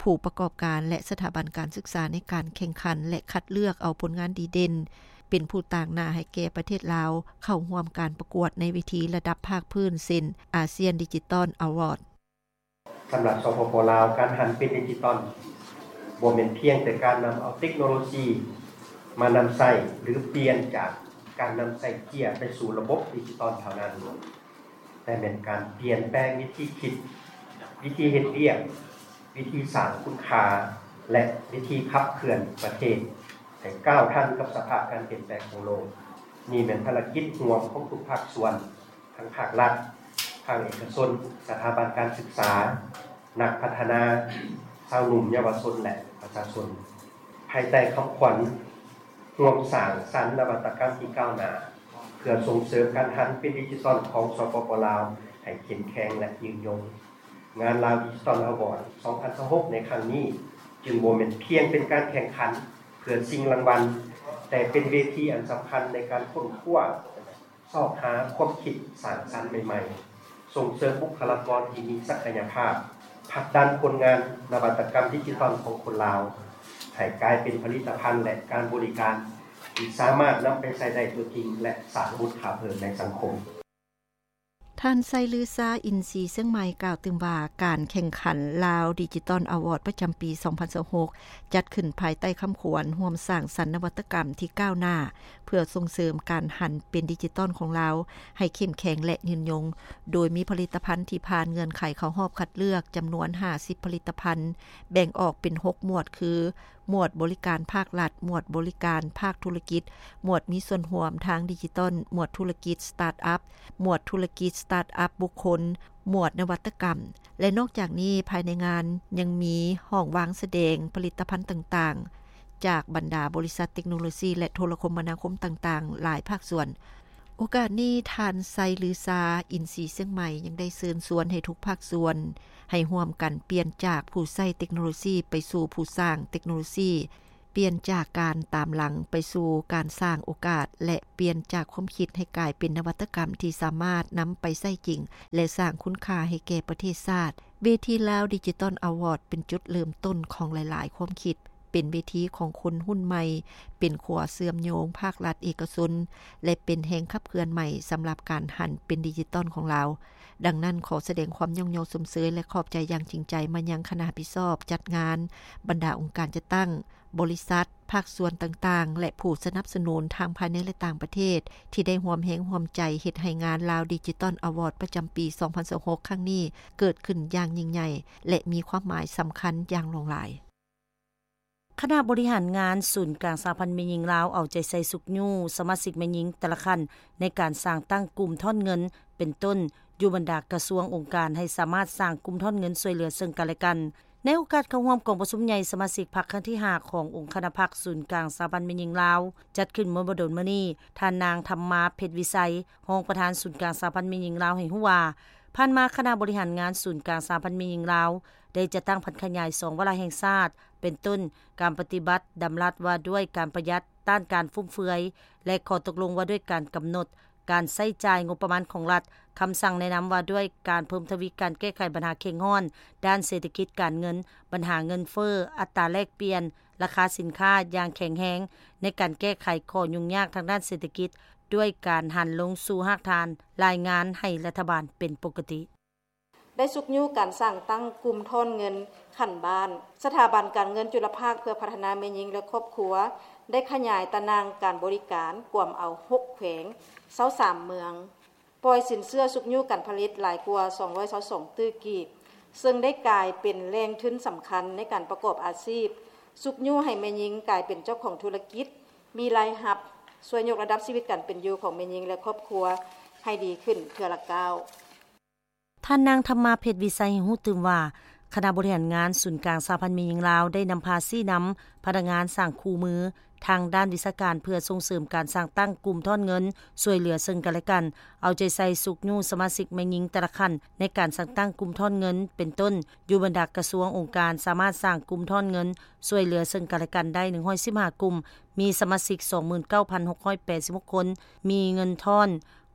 ຜູ້ປະກອບການ ແລະ ສະຖາບັນການສຶກສາໃນການແຂ່ງຂັນ ແລະ ຄັດເລືອກເອົາຜົນງານດີເດັ່ນ ເປັນຜູ້ຕາງໜ້າໃຫ້ແກ່ປະເທດລາວເຂົ້າຮ່ວມການປະກວດໃນເວທີລະດັບພາກພື້ນ ເຊັ່ນ ASEAN Digital Award. ສຳລັບ ສປປ ລາວ, ການຫັນເປັນດິຈິຕອນບໍ່ແມ່ນພຽງແຕ່ການນຳເອົາເຕັກໂນໂລຊີມານຳໃຊ້ ຫຼື ປ່ຽນຈາກການນຳໃຊ້ເຈ້ຍໄປສູ່ລະບົບດິຈິຕອນເທົ່ານັ້ນ, ແຕ່ແມ່ນການປ່ຽນແປງວິທີຄິດ, ວິທີເຮັດວຽກ, ວິທີສ້າງຄຸນຄ່າ ແລະ ວິທີຂັບເຄື່ອນປະເທດໃຫ້ກ້າວທັນກັບສະພາບການປ່ຽນແປງຂອງໂລກ. ນີ້ແມ່ນພາລະກິດຮ່ວມຂອງທຸກພາກສ່ວນ, ທັງພາກລັດ, ພາກເອກະຊົນ, ສະຖາບັນການສຶກສາ, ນັກພັດທະນາ, ຊາວໜຸ່ມເຍົາວະຊົນ ແລະ ປະຊາຊົນ. ພາຍໃຕ້ຄຳຂວັນ ຮ່ວມສ້າງສັນນະວັດຕະກຳທີ່ກ້າວໜ້າ ເພື່ອສົ່ງເສີມການຫັນເປັນດິຈິຕອນຂອງ ສປປ ລາວ ໃຫ້ເຂັ້ມແຂງ ແລະ ຍືນຍົງ. ງານ Lao Digital Award ສອງພັນຊາວຫົກ ໃນຄັ້ງນີ້ ຈຶ່ງບໍ່ແມ່ນພຽງເປັນການແຂ່ງຂັນເພື່ອຊິງລາງວັນ, ແຕ່ເປັນເວທີອັນສຳຄັນໃນການຄົ້ນຄວ້າ, ຊອກຫາຄວາມຄິດສ້າງສັນໃໝ່ໆ, ສົ່ງເສີມບຸກຄະລາກອນທີ່ມີສັກກະຍະພາບ, ຜັກດັນຜົນງານນະວັດຕະກຳດິຈິຕອນຂອງຄົນລາວ ໃຫ້ກາຍເປັນຜະລິດຕະພັນ ແລະ ການບໍລິການທີ່ສາມາດນຳໄປໃຊ້ໄດ້ຕົວຈິງ ແລະ ສ້າງມູນຄ່າເພີ່ມໃນສັງຄົມ. ທ່ານ ໄຊລືຊາ ອິນສີຊຽງໃໝ່ ກ່າວຕື່ມວ່າ ການແຂ່ງຂັນ Lao Digital Award ປະຈຳປີສອງພັນຊາວຫົກ ຈັດຂຶ້ນພາຍໃຕ້ຄຳຂວັນ ຮ່ວມສ້າງສັນນະວັດຕະກຳທີ່ກ້າວໜ້າ ເພື່ອສົ່ງເສີມການຫັນເປັນດິຈິຕອນຂອງລາວໃຫ້ເຂັ້ມແຂງ ແລະ ຍືນຍົງ, ໂດຍມີຜະລິດຕະພັນທີ່ຜ່ານເງື່ອນໄຂເຂົ້າຮອບຄັດເລືອກຈຳນວນຫ້າສິບຜະລິດຕະພັນ, ແບ່ງອອກເປັນຫົກໝວດ ຄື ໝວດບໍລິການພາກລັດ, ໝວດບໍລິການພາກທຸລະກິດ, ໝວດມີສ່ວນຮ່ວມທາງດິຈິຕອນ, ໝວດທຸລະກິດສະຕາດອັບ, ໝວດທຸລະກິດສະຕາດອັບບຸກຄົນ, ໝວດນະວັດຕະກຳ ແລະ ນອກຈາກນີ້ ພາຍໃນງານຍັງມີຫ້ອງວາງສະແດງຜະລິດຕະພັນຕ່າງໆ ຈາກບັນດາບໍລິສັດເຕັກໂນໂລຊີ ແລະ ໂທລະຄົມມະນາຄົມຕ່າງໆ ຫຼາຍພາກສ່ວນ. ໂອກາດນີ້ ທ່ານ ໄຊລືຊາ ອິນຊີຊຽງໃໝ່ ຍັງໄດ້ເຊີນຊວນໃຫ້ທຸກພາກສ່ວນ ໃຫ້ຮ່ວມກັນປ່ຽນຈາກຜູ້ໃຊ້ເຕັກໂນໂລຊີໄປສູ່ຜູ້ສ້າງເຕັກໂນໂລຊີ, ປ່ຽນຈາກການຕາມຫຼັງໄປສູ່ການສ້າງໂອກາດ ແລະ ປ່ຽນຈາກຄວາມຄິດໃຫ້ກາຍເປັນນະວັດຕະກຳທີ່ສາມາດນຳໄປໃຊ້ຈິງ ແລະ ສ້າງຄຸນຄ່າໃຫ້ແກ່ປະເທດຊາດ. ເວທີລາວດິຈິຕອນອາວອດ ເປັນຈຸດເລີ່ມຕົ້ນຂອງຫຼາຍໆຄວາມຄິດ, ເປັນເວທີຂອງຄົນຮຸ່ນໃໝ່, ເປັນຂົວເຊື່ອມໂຍງພາກລັດເອກະຊົນ ແລະ ເປັນແຮງຂັບເຄື່ອນໃໝ່ສຳລັບການຫັນເປັນດິຈິຕອນຂອງລາວ. ດັ່ງນັ້ນ, ຂໍສະແດງຄວາມຍ້ອງຍໍຊົມເຊີຍ ແລະ ຂອບໃຈຢ່າງຈິງໃຈມາຍັງຄະນະຮັບຜິດຊອບຈັດງານ, ບັນດາອົງການຈັດຕັ້ງ, ບໍລິສັດ, ພາກສ່ວນຕ່າງໆ ແລະ ຜູ້ສະໜັບສະໜູນທັງພາຍໃນ ແລະ ຕ່າງປະເທດ ທີ່ໄດ້ຮ່ວມແຮງຮ່ວມໃຈເຮັດໃຫ້ງານລາວດິຈິຕອນອາວອດ ປະຈຳປີສອງພັນຊາວຫົກ ຄັ້ງນີ້ເກີດຂຶ້ນຢ່າງຍິ່ງໃຫຍ່ ແລະ ມີຄວາມໝາຍສຳຄັນຢ່າງຫຼວງຫຼາຍ. ຄະນະບໍລິຫານງານສູນກາງສະຫະພັນແມ່ຍິງລາວ ເອົາໃຈໃສ່ຊຸກຍູ້ສະມາຊິກແມ່ຍິງແຕ່ລະຂັ້ນ ໃນການສ້າງຕັ້ງກຸ່ມທອນເງິນ ເປັນຕົ້ນ ຢູ່ບັນດາກະຊວງອົງການ ໃຫ້ສາມາດສ້າງກຸ່ມທອນເງິນຊ່ວຍເຫຼືອເຊິ່ງກັນແລະກັນ. ໃນໂອກາດເຂົ້າຮ່ວມກອງປະຊຸມໃຫຍ່ສະມາຊິກພັກຄັ້ງທີຫ້າ ຂອງອົງຄະນະພັກສູນກາງສະຫະພັນແມ່ຍິງລາວ ຈັດຂຶ້ນເມື່ອບໍ່ດົນມານີ້, ທ່ານນາງ ທຳມາ ເພັດວິໄຊ ຮອງປະທານສູນກາງສະຫະພັນແມ່ຍິງລາວ ໃຫ້ຮູ້ວ່າ ຜ່ານມາຄະນະບໍລິຫານງານສູນກາງສະຫະພັນແມ່ຍິງລາວ ໄດ້ຈັດຕັ້ງຜັນຂະຫຍາຍສອງວາລະແຫ່ງຊາດ ເປັນຕົ້ນ ການປະຕິບັດດຳລັດວ່າດ້ວຍການປະຢັດ, ຕ້ານການຟຸມເຟືອຍ ແລະ ຂໍ້ຕົກລົງວ່າດ້ວຍການກຳນົດການໃຊ້ຈ່າຍງົບປະມານຂອງລັດ, ຄຳສັ່ງແນະນຳວ່າດ້ວຍການເພີ່ມທະວີການແກ້ໄຂບັນຫາເຄັ່ງຮ້ອນດ້ານເສດຖະກິດການເງິນ, ບັນຫາເງິນເຟີ້, ອັດຕາແລກປ່ຽນ, ລາຄາສິນຄ້າຢ່າງແຂງແຮງ ໃນການແກ້ໄຂຂໍ້ຫຍຸ້ງຍາກທາງດ້ານເສດຖະກິດ ດ້ວຍການຫັນລົງສູ່ຮາກຖານ, ລາຍງານໃຫ້ລັດຖະບານເປັນປົກກະຕິ. ໄດ້ຊຸກຍູ້ການສ້າງຕັ້ງກຸ່ມທອນເງິນຂັ້ນບ້ານ. ສະຖາບັນການເງິນຈຸລະພາກເພື່ອພັດທະນາແມ່ຍິງ ແລະ ຄອບຄົວ ໄດ້ຂະຫຍາຍຕາໜ່າງການບໍລິການ ກວມເອົາຫົກແຂວງ, ຊາວສາມເມືອງ, ປ່ອຍສິນເຊື່ອຊຸກຍູ້ການຜະລິດຫຼາຍກວ່າສອງຮ້ອຍຊາວສອງຕື້ກີບ, ເຊິ່ງໄດ້ກາຍເປັນແຫຼ່ງທຶນສຳຄັນໃນການປະກອບອາຊີບ, ຊຸກຍູ້ໃຫ້ແມ່ຍິງກາຍເປັນເຈົ້າຂອງທຸລະກິດ, ມີລາຍຮັບ, ຊ່ວຍຍົກລະດັບຊີວິດການເປັນຢູ່ຂອງແມ່ຍິງ ແລະ ຄອບຄົວໃຫ້ດີຂຶ້ນເທື່ອລະກ້າວ. ທ່ານນາງ ທຳມາ ເພັດວິໄຊ ໃຫ້ຮູ້ຕື່ມວ່າ ຄະນະບໍລິຫານງານສູນກາງສະຫະພັນແມ່ຍິງລາວ ໄດ້ນຳພາຊີ້ນຳພະນັກງານສ້າງຄູ່ມືທາງດ້ານວິຊາການ ເພື່ອສົ່ງເສີມການສ້າງຕັ້ງກຸ່ມທອນເງິນຊ່ວຍເຫຼືອເຊິ່ງກັນແລະກັນ, ເອົາໃຈໃສ່ຊຸກຍູ້ສະມາຊິກແມ່ຍິງແຕ່ລະຂັ້ນໃນການສ້າງຕັ້ງກຸ່ມທອນເງິນ ເປັນຕົ້ນ ຢູ່ບັນດາກະຊວງອົງການ ສາມາດສ້າງກຸ່ມທອນເງິນຊ່ວຍເຫຼືອເຊິ່ງກັນແລະກັນໄດ້ໜຶ່ງຮ້ອຍສິບຫ້າກຸ່ມ, ມີສະມາຊິກສອງໝື່ນເກົ້າພັນຫົກຮ້ອຍແປດສິບຫົກຄົນ, ມີເງິນທອນ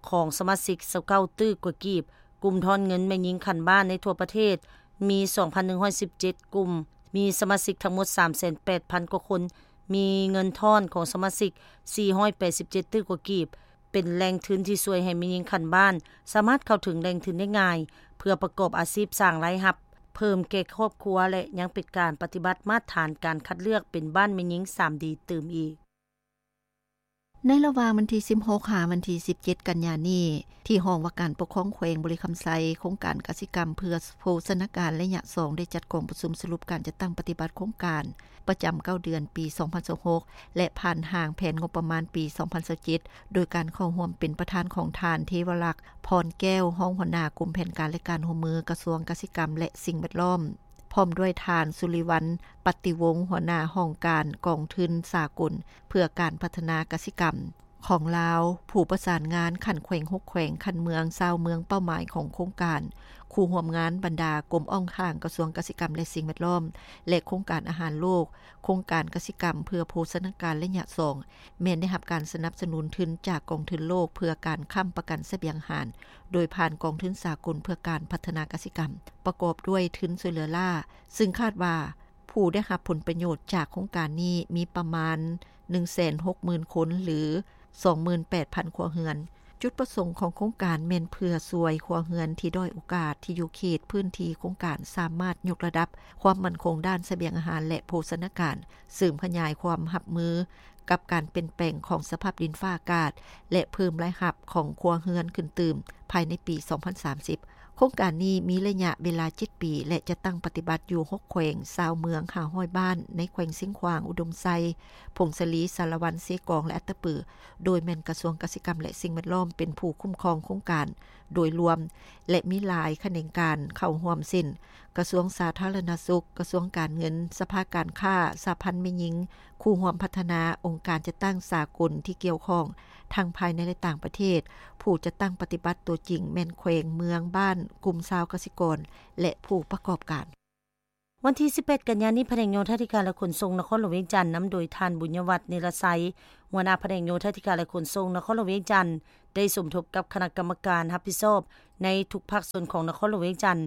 ຂອງສະມາຊິກຊາວເກົ້າຕື້ກວ່າກີບ. ກຸ່ມທອນເງິນແມ່ຍິງຂັ້ນບ້ານໃນທົ່ວປະເທດມີສອງພັນໜຶ່ງຮ້ອຍສິບເຈັດກຸ່ມ, ມີສະມາຊິກທັງໝົດສາມແສນແປດພັນກວ່າຄົນ, ມີເງິນທອນຂອງສະມາຊິກສີ່ຮ້ອຍແປດສິບເຈັດຕື້ກວ່າກີບ, ເປັນແຫຼ່ງທຶນທີ່ຊ່ວຍໃຫ້ແມ່ຍິງຂັ້ນບ້ານສາມາດເຂົ້າເຖິງແຫຼ່ງທຶນໄດ້ງ່າຍ ເພື່ອປະກອບອາຊີບສ້າງລາຍຮັບເພີ່ມແກ່ຄອບຄົວ ແລະ ຍັງເປັນການປະຕິບັດມາດຖານການຄັດເລືອກເປັນບ້ານແມ່ຍິງສາມດີຕື່ມອີກ. ໃນລະຫວ່າງວັນທີສິບຫົກ ຫາວັນທີສິບເຈັດ ກັນຍານີ້, ທີ່ຫ້ອງວ່າການປົກຄອງແຂວງບໍລິຄຳໄຊ, ໂຄງການກະສິກຳເພື່ອໂພຊະນາການໄລຍະສອງ ໄດ້ຈັດກອງປະຊຸມສະຫຼຸບການຈັດຕັ້ງປະຕິບັດໂຄງການປະຈຳເກົ້າເດືອນປີສອງພັນຊາວຫົກ ແລະ ຜ່ານຮ່າງແຜນງົບປະມານປີສອງພັນຊາວເຈັດ ໂດຍການເຂົ້າຮ່ວມເປັນປະທານຂອງທ່ານ ເທວະລັກ ພອນແກ້ວ ຮອງຫົວໜ້າກົມແຜນການ ແລະ ການຮ່ວມມື ກະຊວງກະສິກຳ ແລະ ສິ່ງແວດລ້ອມ. ພ້ອມດ້ວຍທ່ານ ສຸລິວັນ ປັດຕິວົງ ຫົວໜ້າຫ້ອງການກອງທຶນສາກົນເພື່ອການພັດທະນາກະສິກຳຂອງລາວ, ຜູ້ປະສານງານຂັ້ນແຂວງຫົກແຂວງ, ຂັ້ນເມືອງຊາວເມືອງເປົ້າໝາຍຂອງໂຄງການ, ຄູ່ຮ່ວມງານບັນດາກົມອ້ອງຂ້າງກະຊວງກະສິກຳ ແລະ ສິ່ງແວດລ້ອມ ແລະ ໂຄງການອາຫານໂລກ, ໂຄງການກະສິກຳເພື່ອໂພຊະນາການໄລຍະສອງ ແມ່ນໄດ້ຮັບການສະໜັບສະໜູນທຶນຈາກກອງທຶນໂລກເພື່ອການຄ້ຳປະກັນສະບຽງອາຫານ ໂດຍຜ່ານກອງທຶນສາກົນເພື່ອການພັດທະນາກະສິກຳ, ປະກອບດ້ວຍທຶນຊ່ວຍເຫຼືອລ້າ, ຊຶ່ງຄາດວ່າຜູ້ໄດ້ຮັບຜົນປະໂຫຍດຈາກໂຄງການນີ້ມີປະມານໜຶ່ງແສນຫົກໝື່ນຄົນ ຫຼື ສອງໝື່ນແປດພັນຄົວເຮືອນ. ຈຸດປະສົງຂອງໂຄງການແມ່ນເພື່ອຊ່ວຍຄົວເຮືອນທີ່ດ້ອຍໂອກາດ ທີ່ຢູ່ເຂດພື້ນທີ່ໂຄງການສາມາດຍົກລະດັບຄວາມໝັ້ນຄົງດ້ານສະບຽງອາຫານ ແລະ ໂພຊະນາການ, ເສີມຂະຫຍາຍຄວາມຮັບມື ກັບການປ່ຽນແປງຂອງສະພາບດິນຟ້າອາກາດ ແລະ ເພີ່ມລາຍຮັບຂອງຄົວເຮືອນຂຶ້ນຕື່ມພາຍໃນປີສອງພັນສາມສິບ. ໂຄງການນີ້ມີໄລຍະເວລາເຈັດປີ ແລະ ຈະຕັ້ງປະຕິບັດຢູ່ຫົກແຂວງ, ຊາວເມືອງ ຫ້າຮ້ອຍບ້ານ ໃນແຂວງຊຽງຂວາງ, ອຸດົມໄຊ, ຜົ້ງສາລີ, ສາລະວັນ, ເຊກອງ ແລະ ອັດຕະປື, ໂດຍແມ່ນກະຊວງກະສິກຳ ແລະ ສິ່ງແວດລ້ອມເປັນຜູ້ຄຸ້ມຄອງໂຄງການໂດຍລວມ ແລະ ມີຫຼາຍຂະແໜງການເຂົ້າຮ່ວມ ເຊັ່ນ: ກະຊວງສາທາລະນະສຸກ, ກະຊວງການເງິນ, ສະພາການຄ້າ, ສະຫະພັນແມ່ຍິງ, ຄູ່ຮ່ວມພັດທະນາ, ອົງການຈັດຕັ້ງສາກົນທີ່ກ່ຽວຂ້ອງ ທັງພາຍໃນ ແລະ ຕ່າງປະເທດ, ຜູ້ຈັດຕັ້ງປະຕິບັດຕົວຈິງແມ່ນແຂວງ, ເມືອງ, ບ້ານ, ກຸ່ມຊາວກະສິກອນ ແລະ ຜູ້ປະກອບການ. ວັນທີສິບແປດ ກັນຍານີ້, ພະແນກໂຍທາທິການ ແລະ ຂົນສົ່ງນະຄອນຫຼວງວຽງຈັນ ນຳໂດຍທ່ານ ບຸນຍະວັດ ນິລະໄຊ, ຫົວໜ້າພະແນກໂຍທາທິການ ແລະ ຂົນສົ່ງນະຄອນຫຼວງວຽງຈັນ ໄດ້ສົມທົບກັບຄະນະກຳມະການຮັບຜິດຊອບໃນທຸກພາກສ່ວນຂອງນະຄອນຫຼວງວຽງຈັນ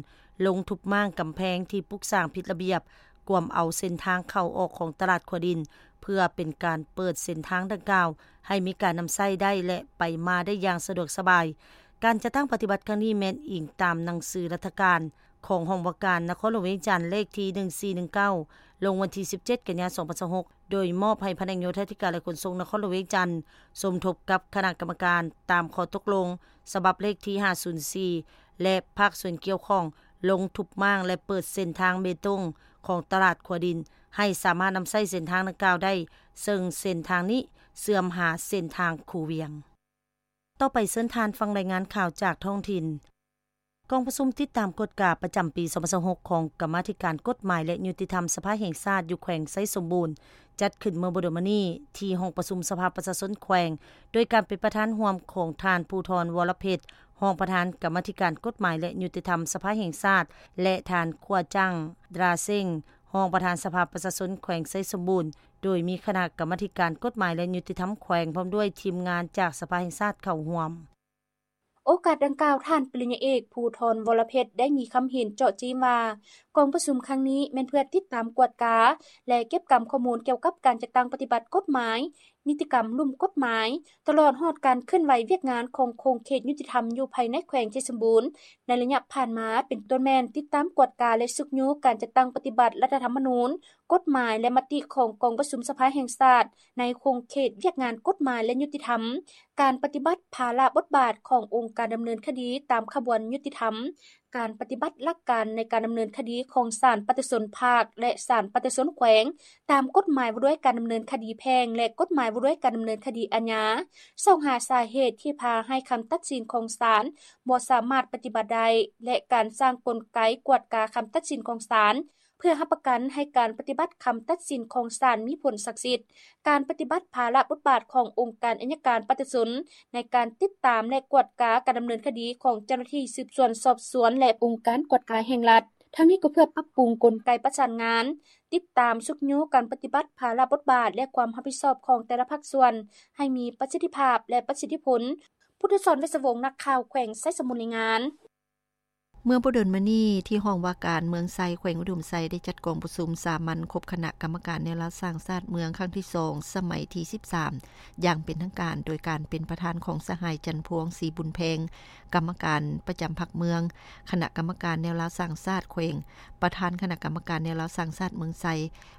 ລົງທຸບມ້າງກຳແພງທີ່ປຸກສ້າງຜິດລະບຽບ, ກວມເອົາເສັ້ນທາງເຂົ້າອອກຂອງຕະຫຼາດຂົວດິນ ເພື່ອເປັນການເປີດເສັ້ນທາງດັ່ງກ່າວໃຫ້ມີການນຳໃຊ້ໄດ້ ແລະ ໄປມາໄດ້ຢ່າງສະດວກສະບາຍ. ການຈັດຕັ້ງປະຕິບັດຄັ້ງນີ້ແມ່ນອີງຕາມໜັງສືລັດຖະການ ຂອງຫ້ອງວ່າການນະຄອນຫຼວງວຽງຈັນ ເລກທີໜຶ່ງສີ່ໜຶ່ງເກົ້າ ລົງວັນທີສິບເຈັດ ກັນຍາ ສອງພັນຊາວຫົກ ໂດຍມອບໃຫ້ພະແນກໂຍທາທິການ ແລະ ຂົນສົ່ງນະຄອນຫຼວງວຽງຈັນ ສົມທົບກັບຄະນະກຳມະການຕາມຂໍ້ຕົກລົງສະບັບເລກທີຫ້າສູນສີ່ ແລະ ພາກສ່ວນກ່ຽວຂ້ອງ ລົງທຸບມ້າງ ແລະ ເປີດເສັ້ນທາງເບຕົງຂອງຕະຫຼາດຂົວດິນ ໃຫ້ສາມາດນຳໃຊ້ເສັ້ນທາງດັ່ງກ່າວໄດ້, ເຊິ່ງເສັ້ນທາງນີ້ເຊື່ອມຫາເສັ້ນທາງຄູວຽງ. ຕໍ່ໄປເຊີນທ່ານຟັງລາຍງານຂ່າວຈາກທ້ອງຖິ່ນ. ກອງປະຊຸມຕິດຕາມກວດກາປະຈຳປີສອງພັນຊາວຫົກ ຂອງກຳມາທິການກົດໝາຍ ແລະ ຍຸຕິທຳສະພາແຫ່ງຊາດ ຢູ່ແຂວງໄຊສົມບູນ ຈັດຂຶ້ນເມື່ອບໍ່ດົນມານີ້ ທີ່ຫ້ອງປະຊຸມສະພາປະຊາຊົນແຂວງ ໂດຍການເປັນປະທານຮ່ວມຂອງທ່ານ ພູທອນ ວໍລະເພັດ ຮອງປະທານກຳມາທິການກົດໝາຍ ແລະ ຍຸຕິທຳສະພາແຫ່ງຊາດ ແລະ ທ່ານ ຂົວຈັງ ດຣາເຊັງ ຮອງປະທານສະພາປະຊາຊົນແຂວງໄຊສົມບູນ ໂດຍມີຄະນະກຳມາທິການກົດໝາຍ ແລະ ຍຸຕິທຳແຂວງ ພ້ອມດ້ວຍທີມງານຈາກສະພາແຫ່ງຊາດເຂົ້າຮ່ວມ. ໂອກາດດັ່ງກ່າວ, ທ່ານປະລິນຍາເອກ ພູທອນ ວໍລະເພັດ ໄດ້ມີຄຳເຫັນເຈາະຈີ້ມວ່າ ກອງປະຊຸມຄັ້ງນີ້ແມ່ນເພື່ອຕິດຕາມກວດກາ ແລະ ເກັບກຳຂໍ້ມູນກ່ຽວກັບການຈັດຕັ້ງປະຕິບັດກົດໝາຍ, ນິຕິກຳລຸ່ມກົດໝາຍ, ຕະຫຼອດຮອດການເຄື່ອນໄຫວວຽກງານຂອງຂົງເຂດຍຸຕິທຳຢູ່ພາຍໃນແຂວງໄຊສົມບູນ ໃນໄລຍະຜ່ານມາ, ເປັນຕົ້ນແມ່ນຕິດຕາມກວດກາ ແລະ ຊຸກຍູ້ການຈັດຕັ້ງປະຕິບັດລັດຖະທຳມະນູນ, ກົດໝາຍ ແລະ ມະຕິຂອງກອງປະຊຸມສະພາແຫ່ງຊາດ ໃນຂົງເຂດວຽກງານກົດໝາຍ ແລະ ຍຸຕິທຳ, ການປະຕິບັດພາລະບົດບາດຂອງອົງການດຳເນີນຄະດີຕາມຂະບວນຍຸຕິທຳ, ການປະຕິບັດຫຼັກການໃນການດຳເນີນຄະດີຂອງສານປະຊາຊົນພາກ ແລະ ສານປະຊາຊົນແຂວງ ຕາມກົດໝາຍວ່າດ້ວຍການດຳເນີນຄະດີແພ່ງ ແລະ ກົດໝາຍວ່າດ້ວຍການດຳເນີນຄະດີອາຍາ, ຊອກຫາສາເຫດທີ່ພາໃຫ້ຄຳຕັດສິນຂອງສານບໍ່ສາມາດປະຕິບັດໄດ້ ແລະ ການສ້າງກົນໄກກວດກາຄຳຕັດສິນຂອງສານ ເພື່ອຮັບປະກັນໃຫ້ການປະຕິບັດຄຳຕັດສິນຂອງສານມີຜົນສັກສິດ, ການປະຕິບັດພາລະບົດບາດຂອງອົງການໄອຍະການປະຊາຊົນໃນການຕິດຕາມ ແລະ ກວດກາການດຳເນີນຄະດີຂອງເຈົ້າໜ້າທີ່ສືບສວນສອບສວນ ແລະ ອົງການກວດກາແຫ່ງລັດ. ທັງນີ້ກໍເພື່ອປັບປຸງກົນໄກປະສານງານ, ຕິດຕາມຊຸກຍູ້ການປະຕິບັດພາລະບົດບາດ ແລະ ຄວາມຮັບຜິດຊອບຂອງແຕ່ລະພາກສ່ວນໃຫ້ມີປະສິດທິພາບ ແລະ ປະສິດທິຜົນ. ພຸດທະສອນ ເວດສະວົງ, ນັກຂ່າວແຂວງໄຊສົມບູນ ລາຍງານ. ເມື່ອບໍ່ດົນມານີ້, ທີ່ຫ້ອງວ່າການເມືອງໄຊ ແຂວງອຸດົມໄຊ ໄດ້ຈັດກອງປະຊຸມສາມັນຄົບຄະນະກຳມະການແນວລາວສ້າງຊາດເມືອງຄັ້ງທີສອງ ສະໄໝທີສິບສາມ ຢ່າງເປັນທາງການ ໂດຍການເປັນປະທານຂອງສະຫາຍ ຈັນພວງ ສີບຸນແພງ ກຳມະການປະຈຳພັກເມືອງ, ຄະນະກຳມະການແນວລາວສ້າງຊາດແຂວງ, ປະທານຄະນະກຳມະການແນວລາວສ້າງຊາດເມືອງໄຊ,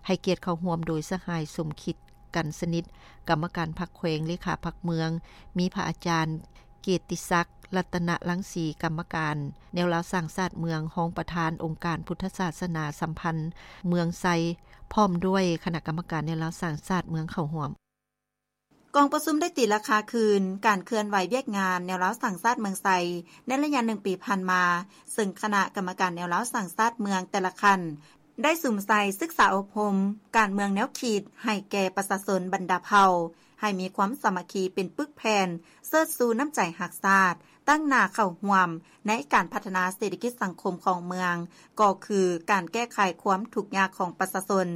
ໃຫ້ກຽດເຂົ້າຮ່ວມໂດຍສະຫາຍ ສົມຄິດ ກັນສະໜິດ ກຳມະການພັກແຂວງ, ເລຂາພັກເມືອງ, ມີພະອາຈານ ເກດຕິສັກ ລັດຕະນະລັງສີ ກຳມະການແນວລາວສ້າງຊາດເມືອງ, ຮອງປະທານອົງການພຸດທະສາສະໜາສຳພັນເມືອງໄຊ ພ້ອມດ້ວຍຄະນະກຳມະການແນວລາວສ້າງຊາດເມືອງເຂົ້າຮ່ວມ. ກອງປະຊຸມໄດ້ຕີລາຄາຄືນການເຄື່ອນໄຫວວຽກງານແນວລາວສ້າງຊາດເມືອງໄຊ ໃນໄລຍະໜຶ່ງປີຜ່ານມາ, ເຊິ່ງຄະນະກຳມະການແນວລາວສ້າງຊາດເມືອງແຕ່ລະຂັ້ນ ໄດ້ສຸມໃສ່ສຶກສາອົບຮົມການເມືອງແນວຄິດໃຫ້ແກ່ປະຊາຊົນບັນດາເຜົ່າ ໃຫ້ມີຄວາມສາມັກຄີເປັນປຶກແຜ່ນ, ເຊີດຊູນ້ຳໃຈຮັກຊາດ, ຕັ້ງໜ້າເຂົ້າຮ່ວມໃນການພັດທະນາເສດຖະກິດສັງຄົມຂອງເມືອງ, ກໍຄືການແກ້ໄຂຄວາມທຸກຍາກຂອງປະຊາຊົນ.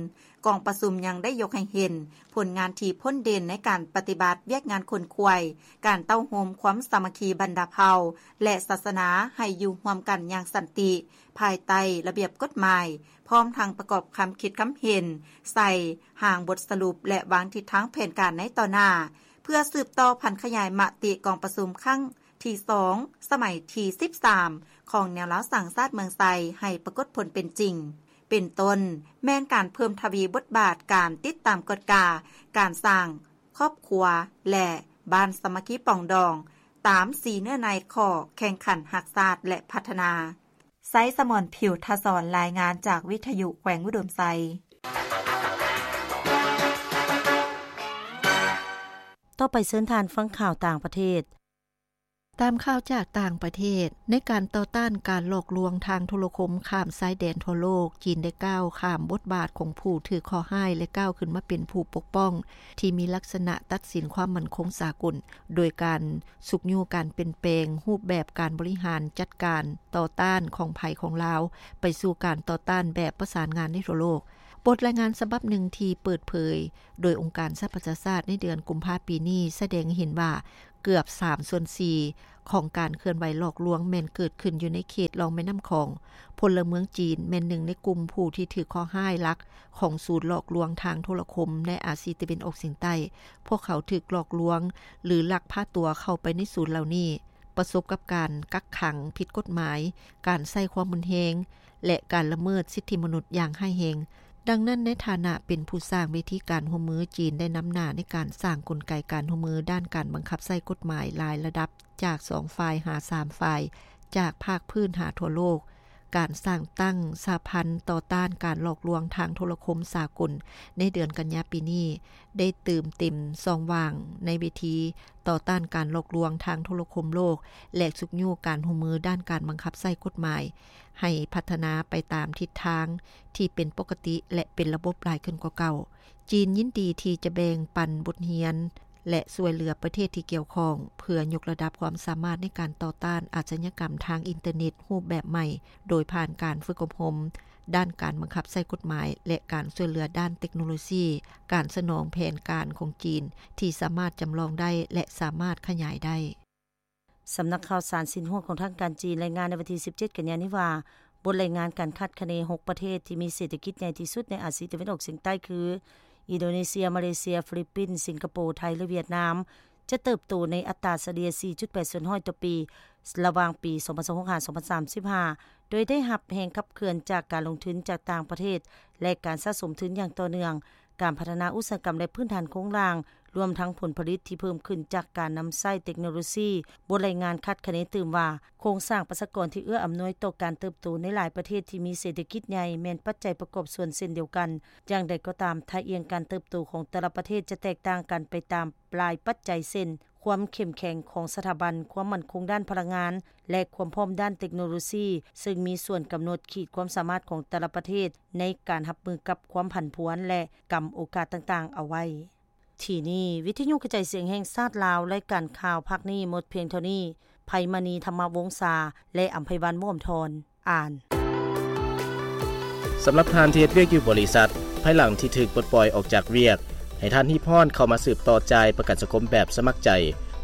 ກອງປະຊຸມຍັງໄດ້ຍົກໃຫ້ເຫັນຜົນງານທີ່ພົ້ນເດັ່ນໃນການປະຕິບັດວຽກງານຂົນຂວາຍ, ການເຕົ້າໂຮມຄວາມສາມັກຄີບັນດາເຜົ່າ ແລະ ສາສະໜາໃຫ້ຢູ່ຮ່ວມກັນຢ່າງສັນຕິ ພາຍໃຕ້ລະບຽບກົດໝາຍ, ພ້ອມທັງປະກອບຄຳຄິດຄຳເຫັນໃສ່ຮ່າງບົດສະຫຼຸບ ແລະ ວາງທິດທາງແຜນການໃນຕໍ່ໜ້າ, ເພື່ອສືບຕໍ່ຜັນຂະຫຍາຍມະຕິກອງປະຊຸມຄັ້ງທີສອງ ສະໄໝທີສິບສາມ ຂອງແນວລາວສ້າງຊາດເມືອງໄຊ ໃຫ້ປາກົດຜົນເປັນຈິງ, ເປັນຕົ້ນແມ່ນການເພີ່ມທະວີບົດບາດການຕິດຕາມກວດກາການສ້າງຄອບຄົວ ແລະ ບ້ານສາມັກຄີປອງດອງ ຕາມສີ່ເນື້ອໃນຂໍ້ແຂ່ງຂັນຮັກຊາດ ແລະ ພັດທະນາ. ໄຊສະໝອນ ຜິວທະສອນ ລາຍງານຈາກວິທະຍຸແຂວງອຸດົມໄຊ. ຕໍ່ໄປເຊີນທ່ານຟັງຂ່າວຕ່າງປະເທດ. ຕາມຂ່າວຈາກຕ່າງປະເທດ, ໃນການຕໍ່ຕ້ານການຫຼອກລວງທາງໂທລະຄົມຂ້າມຊາຍແດນທົ່ວໂລກ, ຈີນໄດ້ກ້າວຂ້າມບົດບາດຂອງຜູ້ຖືກເຄາະຮ້າຍ ແລະ ກ້າວຂຶ້ນມາເປັນຜູ້ປົກປ້ອງ ທີ່ມີລັກສະນະຕັດສິນຄວາມໝັ້ນຄົງສາກົນ, ໂດຍການຊຸກຍູ້ການປ່ຽນແປງຮູບແບບການບໍລິຫານຈັດການຕໍ່ຕ້ານຂອງໃຜຂອງລາວ ໄປສູ່ການຕໍ່ຕ້ານແບບປະສານງານໃນທົ່ວໂລກ. ບົດລາຍງານສະບັບໜຶ່ງທີ່ເປີດເຜີຍໂດຍອົງການສະຫະປະຊາຊາດໃນເດືອນກຸມພາປີນີ້ ສະແດງໃຫ້ເຫັນວ່າ ເກືອບສາມສ່ວນສີ່ຂອງການເຄື່ອນໄຫວຫຼອກລວງແມ່ນເກີດຂຶ້ນຢູ່ໃນເຂດລ່ອງແມ່ນ້ຳຂອງ. ພົນລະເມືອງຈີນແມ່ນໜຶ່ງໃນກຸ່ມຜູ້ທີ່ຖືກເຄາະຮ້າຍຫຼັກຂອງສູນຫຼອກລວງທາງໂທລະຄົມໃນອາຊີຕາເວັນອອກສຽງໃຕ້. ພວກເຂົາຖືກຫຼອກລວງ ຫຼື ລັກພາຕົວເຂົ້າໄປໃນສູນເຫຼົ່ານີ້, ປະສົບກັບການກັກຂັງຜິດກົດໝາຍ, ການໃຊ້ຄວາມຮຸນແຮງ ແລະ ການລະເມີດສິດທິມະນຸດຢ່າງຮ້າຍແຮງ. ດັ່ງນັ້ນ, ໃນຖານະເປັນຜູ້ສ້າງເວທີການຮ່ວມມື, ຈີນໄດ້ນຳໜ້າໃນການສ້າງກົນໄກການຮ່ວມມືດ້ານການບັງຄັບໃຊ້ກົດໝາຍຫຼາຍລະດັບ ຈາກສອງຝ່າຍຫາສາມຝ່າຍ, ຈາກພາກພື້ນຫາທົ່ວໂລກ. ການສ້າງຕັ້ງສະຫະພັນຕໍ່ຕ້ານການຫຼອກລວງທາງໂທລະຄົມສາກົນໃນເດືອນກັນຍາປີນີ້ ໄດ້ເຕີມເຕັມຊ່ອງວ່າງໃນເວທີຕໍ່ຕ້ານການຫຼອກລວງທາງໂທລະຄົມໂລກ ແລະ ຊຸກຍູ້ການຮ່ວມມືດ້ານການບັງຄັບໃຊ້ກົດໝາຍ ໃຫ້ພັດທະນາໄປຕາມທິດທາງທີ່ເປັນປົກກະຕິ ແລະ ເປັນລະບົບຫຼາຍຂຶ້ນກວ່າເກົ່າ. ຈີນຍິນດີທີ່ຈະແບ່ງປັນບົດຮຽນ ແລະ ຊ່ວຍເຫຼືອປະເທດທີ່ກ່ຽວຂ້ອງ ເພື່ອຍົກລະດັບຄວາມສາມາດໃນການຕໍ່ຕ້ານອາຊະຍາກຳທາງອິນເຕີເນັດຮູບແບບໃໝ່, ໂດຍຜ່ານການຝຶກອົບຮົມດ້ານການບັງຄັບໃຊ້ກົດໝາຍ ແລະ ການຊ່ວຍເຫຼືອດ້ານເຕັກໂນໂລຊີ, ການສະໜອງແຜນການຂອງຈີນທີ່ສາມາດຈຳລອງໄດ້ ແລະ ສາມາດຂະຫຍາຍໄດ້. ສຳນັກຂ່າວສານຊິນຫົວຂອງທາງການຈີນລາຍງານໃນວັນທີສິບເຈັດ ກັນຍານີ້ວ່າ, ບົດລາຍງານການຄາດຄະເນຫົກປະເທດທີ່ມີເສດຖະກິດໃຫຍ່ທີ່ສຸດໃນອາຊີຕາເວັນອອກສຽງໃຕ້ຄື ອິນໂດເນເຊຍ, ມາເລເຊຍ, ຟີລິບປິນ, ສິງກະໂປ, ໄທ ແລະ ຫວຽດນາມ ຈະເຕີບໂຕໃນອັດຕາສະເລ່ຍສີ່ຈຸດແປດສ່ວນຮ້ອຍຕໍ່ປີ ລະຫວ່າງປີສອງພັນຊາວຫົກ ຫາ ສອງພັນສາມສິບຫ້າ ໂດຍໄດ້ຮັບແຮງຂັບເຄື່ອນຈາກການລົງທຶນຈາກຕ່າງປະເທດ ແລະ ການສະສົມທຶນຢ່າງຕໍ່ເນື່ອງ, ການພັດທະນາອຸດສາຫະກຳ ແລະ ພື້ນຖານໂຄງລ່າງ, ລວມທັງຜົນຜະລິດທີ່ເພີ່ມຂຶ້ນຈາກການນຳໃຊ້ເຕັກໂນໂລຊີ. ບົດລາຍງານຄາດຄະເນຕື່ມວ່າ, ໂຄງສ້າງປະຊາກອນທີ່ເອື້ອອຳນວຍຕໍ່ການເຕີບໂຕໃນຫຼາຍປະເທດທີ່ມີເສດຖະກິດໃຫຍ່ແມ່ນປັດໄຈປະກອບສ່ວນເຊັ່ນດຽວກັນ. ຢ່າງໃດກໍຕາມ, ທ່າອ່ຽງການເຕີບໂຕຂອງແຕ່ລະປະເທດຈະແຕກຕ່າງກັນໄປຕາມຫຼາຍປັດໄຈ ເຊັ່ນ ຄວາມເຂັ້ມແຂງຂອງສະຖາບັນຄວາມໝັ້ນຄົງດ້ານພະລັງງານ ແລະ ຄວາມພ້ອມດ້ານເຕັກໂນໂລຊີ, ເຊິ່ງມີສ່ວນກຳນົດຂີດຄວາມສາມາດຂອງແຕ່ລະປະເທດໃນການຮັບມືກັບຄວາມຜັນຜວນ ແລະ ກຳໂອກາດຕ່າງໆເອົາໄວ້. ທີ່ນີ້ ວິທະຍຸກະຈາຍສຽງແຫ່ງຊາດລາວ, ລາຍການຂ່າວພາກນີ້ໝົດພຽງເທົ່ານີ້. ໄພມະນີ ທຳມະວົງສາ ແລະ ອຳໄພວັນ ວອມທອນ ອ່ານ. ສຳລັບທ່ານທີ່ເຮັດວຽກຢູ່ບໍລິສັດ, ພາຍຫຼັງທີ່ຖືກປົດປ່ອຍອອກຈາກວຽກ, ໃຫ້ທ່ານຮີບຮ້ອນເຂົ້າມາສືບຕໍ່ຈ່າຍປະກັນສັງຄົມແບບສະໝັກໃຈ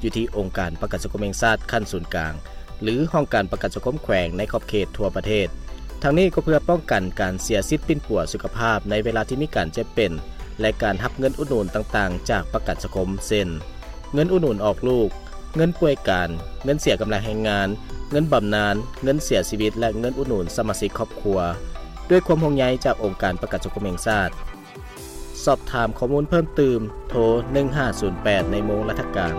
ຢູ່ທີ່ອົງການປະກັນສັງຄົມແຫ່ງຊາດຂັ້ນສູນກາງ ຫຼື ຫ້ອງການປະກັນສັງຄົມແຂວງໃນຂອບເຂດທົ່ວປະເທດ. ທັງນີ້ກໍເພື່ອປ້ອງກັນການເສຍສິດປິ່ນປົວສຸຂະພາບໃນເວລາທີ່ມີການເຈັບເປັນ ແລະ ການຮັບເງິນອຸດໜູນຕ່າງໆຈາກປະກັນສັງຄົມ ເຊັ່ນ ເງິນອຸດໜູນອອກລູກ, ເງິນປ່ວຍການ, ເງິນເສຍກຳລັງແຮງງານ, ເງິນບຳນານ, ເງິນເສຍຊີວິດ ແລະ ເງິນອຸດໜູນສະມາຊິກຄອບຄົວ. ດ້ວຍຄວາມຫ່ວງໃຍຈາກອົງການປະກັນສັງຄົມແຫ່ງຊາດ. ສອບຖາມຂໍ້ມູນເພີ່ມຕື່ມ, ໂທ ໜຶ່ງຫ້າສູນແປດ ໃນໂມງລັດຖະການ.